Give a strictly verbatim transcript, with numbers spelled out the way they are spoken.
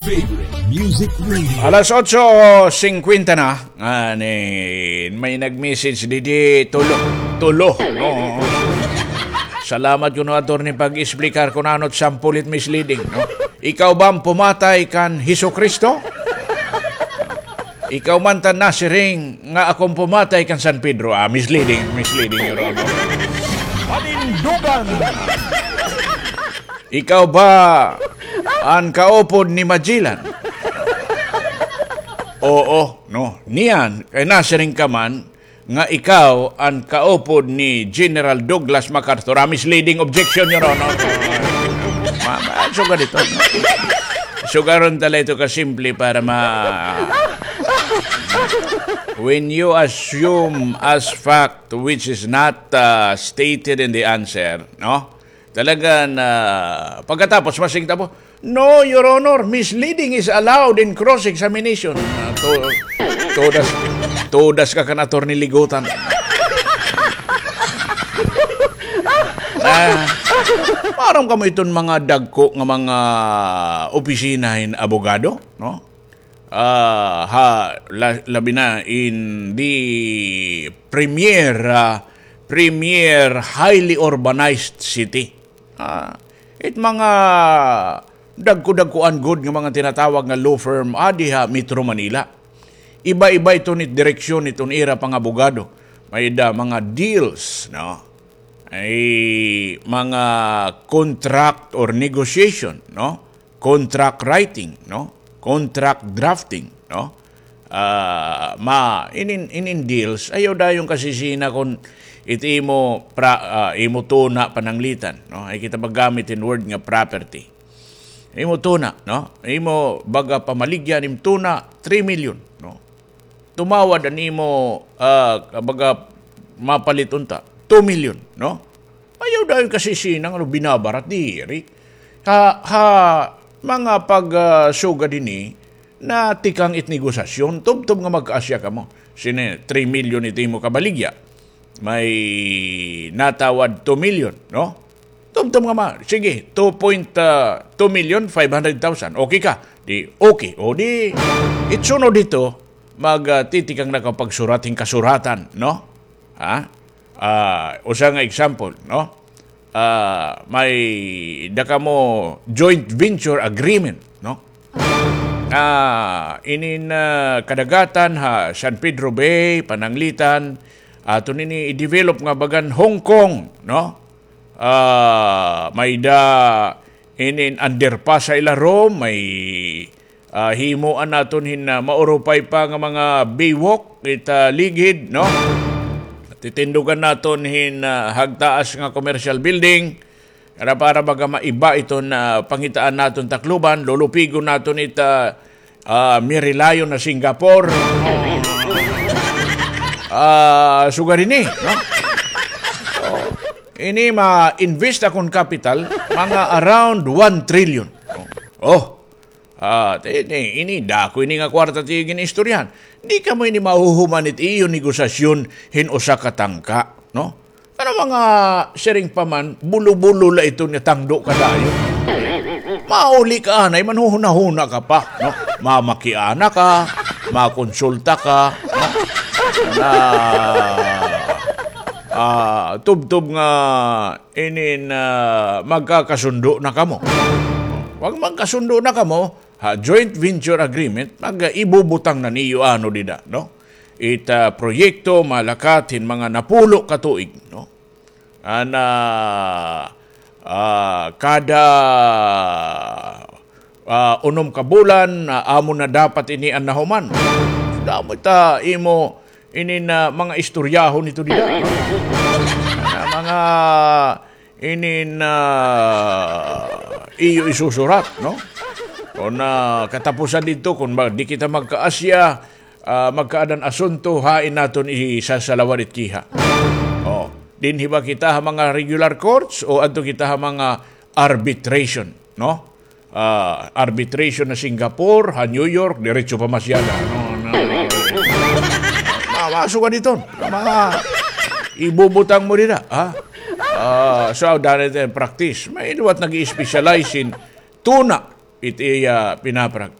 Favorite Music Radio. Alas otso singkwenta na. Ani, may nag-message didi, tulo. Tulo. Oo. Salamat kuno, attorney, pag-explicar kun ano it sample it misleading, no? Ikaw ba an pumatay kan Hesukristo? Ikaw man tan nasiring nga ako an pumatay kan San Pedro. Ah, misleading, misleading, Your Honor. Panindugan. Ikaw ba an kaupod ni Magellan? Oo, no. Niyan, kay nasiring ka man nga ikaw an kaupod ni General Douglas MacArthur. Ah, misleading objection, Your Honor. Ma-, ma-, sugad ito, no? Sugaron ta la ito kasimple para ma-, when you assume as fact which is not, uh, stated in the answer, no? Talaga na, pagkatapos, masing tapo, "No, Your Honor, misleading is allowed in cross-examination." Ah, to-, todas, todas ka kan Attorney Ligutan. Ah, maaram kamo iton mga dagko nga mga opisina hin abogado, no? Ah, ha, la-, labi na in the premier, ah, premier highly urbanized city. Ah, it mga dagko-dagkoan gud nga mga tinatawag nga law firm adi ha Metro Manila. Iba-iba iton it direksyon iton ira pangabogado. May-ada mga deals, no? Ay mga contract or negotiation, no? Contract writing, no? Contract drafting, no? Ah, ma-, inin, inin deals, ayaw dayon kasisina kun it imo pra-, ah, imo tuna pananglitan, no? Ay kita maggamit hin word nga property. Imo tuna, no? Imo baga pamaligya an im tuna, three million, no? Tumawad an imo, ah, baga mapalit unta, two million, no? Ayaw dayon kasisina nga binabarat diri. Ha, ha mga pag, ah, sugad hini, natikang it negosasyon, tubtob nga magkaasya kamo. Sini, three million it imo kabaligya. May natawad two million, no? Tubtob nga ma-, sige, two point two million five hundred thousand. Okay ka? Di, okay. O di, it sunod hito, mag, ah, titikang na ka pagsurat hin kasuratan, no? Ha? Ah, usa nga example, no? Ah, may-ada kamo joint venture agreement, no? Ah, inin, ah, kadagatan ha San Pedro Bay, Pananglitan, aton ini i-develop nga bagan Hong Kong, no? Ah, may-ada inin underpass ha ilarom, may, ah, himoan naton hin, ah, maurupay pa nga mga baywalk it, ah, ligid, no? Titindugan naton hin, ah, hagtaas nga commercial building. Para, para baga maiba iton, ah, pangitaan naton Tacloban, lulupigon naton it, ah, ah, Merilayon na Singapore. Ah, sugad ini, no? Oh, ini ma-invest akon capital, mga around one trillion. Oh, ah, ini, ini, dako ini nga kwarta it iyo gin-istoryahan. Di kamo ini mahuhuman it iyo negosasyon hin usa ka tangka, no? Ano mga siring pa man, bulo-bulo la ito nga tangdo ka dayon. Mauli ka anay, manhuhuna-huna ka pa, no? Mamakiana ka, makonsulta ka, no? Na, ah, tubtob nga inin, ah, magkakasundo na kamo. Pag magkasundo na kamo, ha joint venture agreement, mag-, ibubutang na niyo ano dida, no? It, ah, proyekto malakat hin mga napulo ka tuig, no? An, ah, ah, kada, ah, unom ka bulan, ah, amo na dapat ini an nahuman. Damo ta imo inin mga istoryahon ito dida. Nga mga inin, ah, iyo isusurat, no? Kon, ah, katapusan didto, kon ma-, di kita magkaasya, ah, magkaadan asunto, hain naton isasalawad it kiha? Oh, dinhi ba kita ha mga regular courts o adto kita ha mga arbitration, no? Ah, arbitration ha Singapore, ha New York, diretso pa masya na. No, no, no. Ma-, maso ka didto. Mga ibubutang mo dida, ha? Ah, so, dali tayo practice. May liwat nag-i-specialize in tuna. it iya pinaparak.